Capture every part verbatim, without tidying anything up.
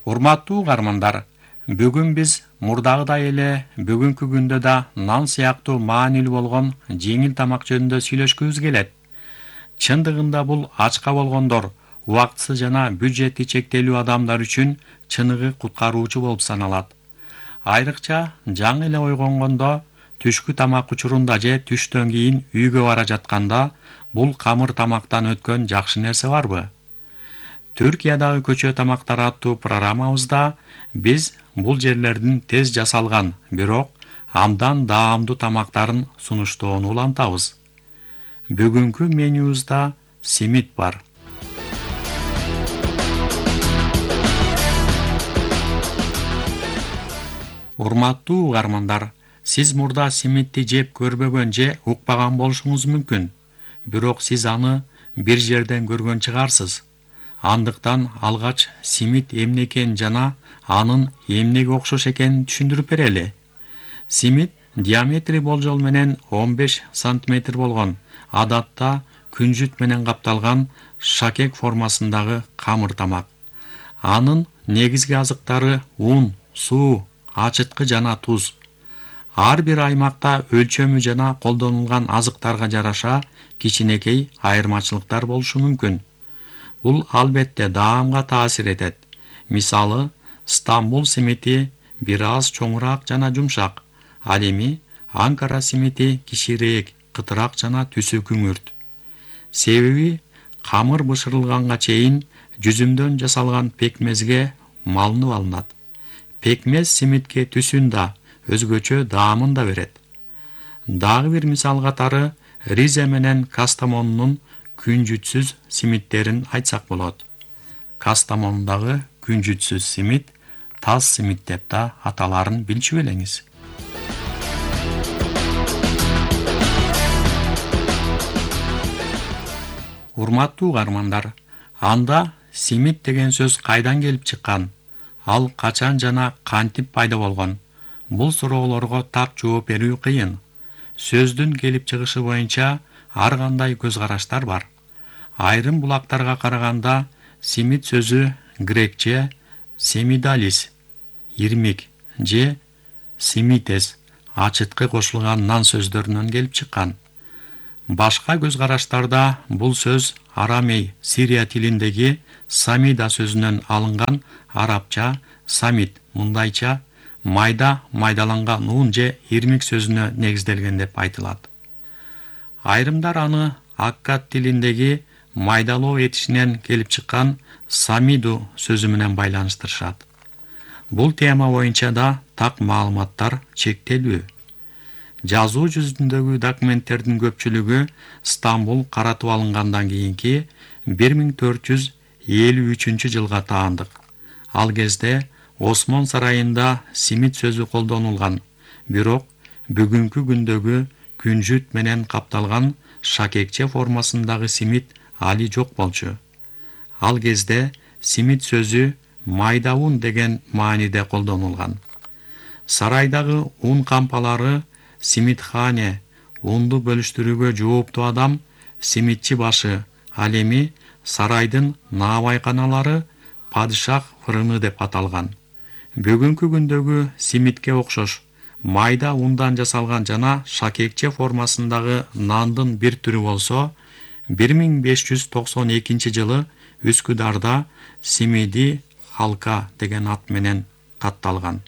Урматтуу угармандар, бүгүн биз мурдагыдай эле бүгүнкү күндө да нан сыяктуу маанилүү болгон жеңил тамак жөнүндө сүйлөшкүбүз келет. Чындыгында бул ачка болгондор, убактысы жана бюджети чектелүү адамдар үчүн чыныгы куткаруучу болуп саналат. Айрыкча жаңы эле ойгонгондо, түшкү тамак учурунда же түштөн кийин үйгө бара жатканда бул камыр тамактан өткөн жакшы нерсе барбы? Түркиядагы көчө тамактары аттуу программабызда биз бул жерлердин тез жасалган, бирок абдан даамдуу тамактарын сунуштоону улантабыз. Бүгүнкү менюбузда симит бар. Урматтуу угармандар, сиз мурда симитти жеп көрбөгөн же укпаган болушуңуз мүмкүн. Бирок сиз аны бир жерден көргөн чыгарсыз. Андыктан алгач симит эмне экенин жана анын эмнеге окшош экенин түшүндүрүп берели. Симит диаметри болжол менен он беш сантиметр болгон, адатта күнжүт менен капталган шакек формасындагы камыр тамак. Анын негизги азыктары ун, суу, ачыткы жана туз. Ар бир аймакта өлчөмү жана колдонулган азыктарга жараша кичинекей айырмачылыктар болушу мүмкүн. Бул албетте даамга таасир этет. Мисалы, Стамбул симити бир аз чоңураак жана жумшак. Ал эми Анкара симити кичиирээк, кытыраак жана түсү күңүрт. Себеби камыр бышырылганга чейин жүзүмдөн жасалган пекмезге малынып алынат. Пекмез симитке түсүн да, өзгөчө даамын да берет. Дагы бир мисал катары Ризе менен Кастамонунун күнжүтсүз симиттерин айтсак болот. Кастамондагы күнжүтсүз симит таз симит деп да аталарын билчү белеңиз. Урматтуу угармандар, анда симит деген сөз кайдан келип чыккан? Ал качан жана кантип пайда болгон? Бул суроолорго так жооп берүү кыйын. Сөздүн келип чыгышы боюнча ар кандай көз караштар бар. Айрым булактарга караганда симит сөзү грекче семидалис, ирмик же симитес, ачыткы кошулган нан сөздөрүнөн келип чыккан. Башка көз караштарда бул сөз арамей, Сирия тилиндеги самида сөзүнөн алынган арабча самит, мындайча майда майдаланган ун же ирмик сөзүнө негизделген деп айтылат. Айрымдар аны аккад тилиндеги майдалоо этишинен келип чыккан самиду сөзү менен байланыштырышат. Бул тема боюнча да так маалыматтар чектелүү. Жазуу жүзүндөгү документтердин көпчүлүгү Стамбул каратып алынгандан кийинки бир миң төрт жүз элүү үчүнчү жылга таандык. Ал кезде Осмон сарайында симит сөзү колдонулган, бирок бүгүнкү күндөгү күнжүт менен капталган шакекче формасындагы симит али жок болчу. Ал кезде симит сөзү майда ун деген мааниде колдонулган. Сарайдагы ун кампалары симитхане, унду бөлүштүрүүгө жооптуу адам, симитчи башы, ал эми сарайдын наабайканалары падышах фырыны деп аталган. Бүгүнкү күндөгү симитке окшош майда ундан жасалган жана шакекче формасындагы нандын бир түрү болсо, бир миң беш жүз токсон экинчи жылы Үскүдарда симиди халка деген ат менен катталган.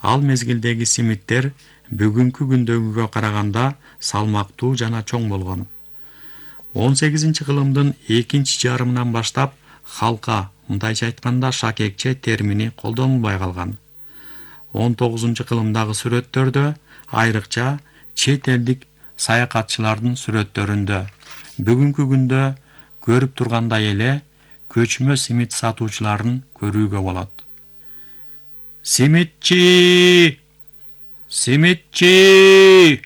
Ал мезгилдеги симиттер бүгүнкү күндөгүгө караганда салмактуу жана чоң болгон. он сегизинчи кылымдын экинчи жарымынан баштап халка, мындайча айтканда шакекче термини колдонулбай калган. он тогузунчу кылымдагы сүрөттөрдө, айрыкча чет элдик саякатчылардын сүрөттөрүндө бүгүнкү күндө көрүп тургандай эле көчмө симит сатуучуларын көрүүгө болот. Симитчи! Симитчи!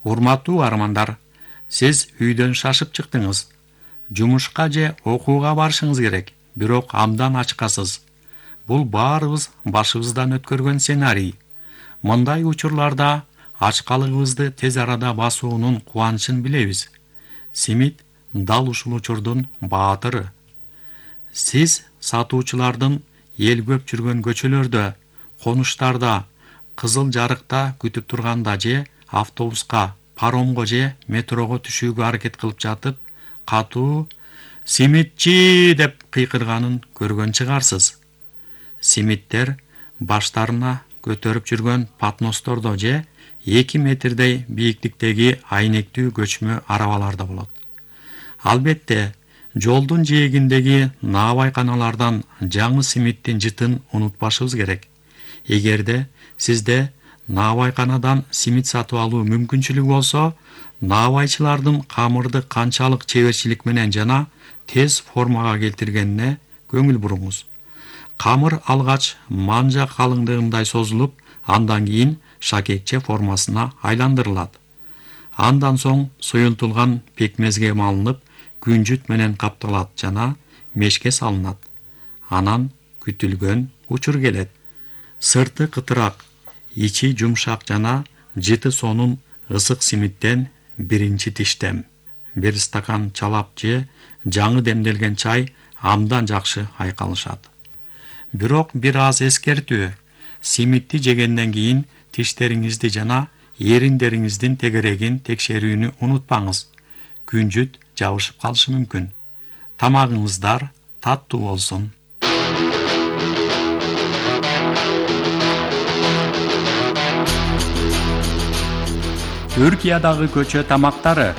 Урматтуу армандар, сиз үйдөн шашып чыктыңыз. Жумушка же окууга барышыңыз керек, бирок абдан ачкасыз. Бул баарыбыз башыбыздан өткөргөн сценарий. Мындай учурларда ачкалыгыбызды тез арада басуунун кубанычын билебиз. Симит дал ушул учурдун баатыры. Сиз сатуучулардын эл көп жүргөн көчөлөрдө, конуштарда, кызыл жарыкта күтүп турганда же автобуска, паромго же метрого түшүүгө аракет кылып жатып, катуу «Симитчи!» деп кыйкырганын көргөн чыгарсыз. Симиттер баштарына көтөрүп жүргөн патностордо же эки метрдей бийиктиктеги айнектүү көчмө арабаларда болот. Албетте, жолдун жээгиндеги наабайканалардан жаңы симиттин жытын унутпашыбыз керек. Эгерде сизде наабайканадан симит сатып алуу мүмкүнчүлүгү болсо, наабайчылардын камырды канчалык чеберчилик менен жана тез формага келтиргенине көңүл буруңуз. Камыр алгач манжа калыңдыгындай созулуп, андан кийин шакекче формасына айландырылат. Андан соң суюлтулган пекмезге малынып, күнжүт менен капталат жана мешке салынат. Анан күтүлгөн учур келет. Сырты кытырак, ичи жумшак жана жыты сонун ысык симиттен биринчи тиштем. Бир стакан чалап же жаңы демделген чай абдан жакшы айкалышат. Бирок бир аз эскертүү: симитти жегенден кийин тиштериңизди жана эриндериңиздин тегерегин текшерүүнү унутпаңыз. Күнжүт жабышып калышы мүмкүн. Тамагыңыздар таттуу болсун. Түркиядагы көчө тамактары.